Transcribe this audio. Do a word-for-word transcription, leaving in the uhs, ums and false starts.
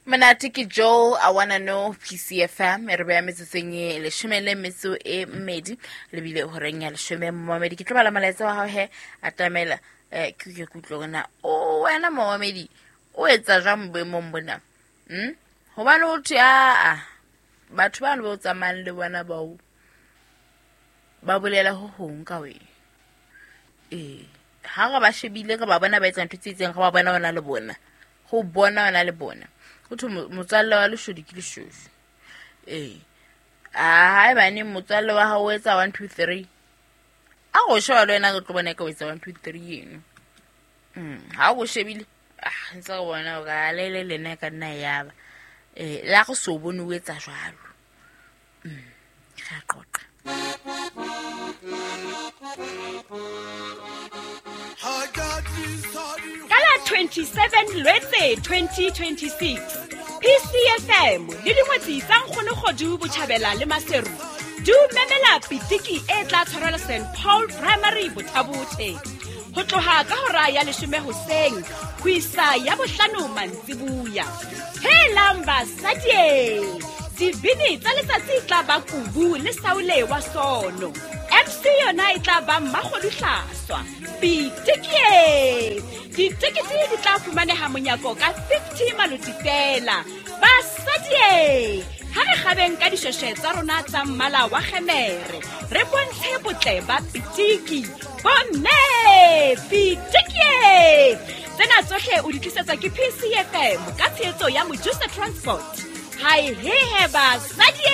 Monate ke Joel I Wanna Know P C F M e re beya metsotsong e leshome le metso e mmedi lebile horeng ya leshome. Momamedi ke tlo bala molaetsa wa hao he atamela eh ke ke kutlwe hore na o wena momamedi o etsa jwang boemong bona. Mm hobane o thwe a batho bano ba o tsamayang le bona bao ba bolela ho hong ka wena. Eh ha re ba shebile re ba bona ba etsa ntho tse itseng, re ba bona ona le bona, ho bona ona le bona. Ho thwe motswalle wa leshodu ke leshodu. Eh a haebane motswalle wa hao o etsa one two three, a go sheba le wena re tlo bona ka o etsa one two three eno. Mm ha o shebile ah ntse re bona hore a le le lena ka nna ya ba eh la go so bone o etsa jwalo. Mm re a qoqa. Ka la twenty-seven Lwetse twenty twenty-six, P C F M le dingwetsi tsa Nkgono Kgodu Botjhabela le Maseru di o memela pitiki e tla tshwarelwa Saint Paul Primary Bothabothe ho tloha ka hora ya leshome hoseng ho isa ya bohlano mantsibuya. Helang basadi, dibini tsa letsatsi e tla ba Kubu le Saule wa Sono. M C yona e tla ba Mmakgodu Hlaswa. Pitiki! Ditekete di tla fumaneha monyako ka fifty maloti fela. Basadi, ha re kgabeng ka dishweshwe tsa rona tsa mmala wa kgemere, re bontshe botle ba pitiki. Bomme, pitiki! Tsena tsohle o di tlisetswa ke P C F M ka tshehetso ya Mojusa Transport. Hai he he basadi!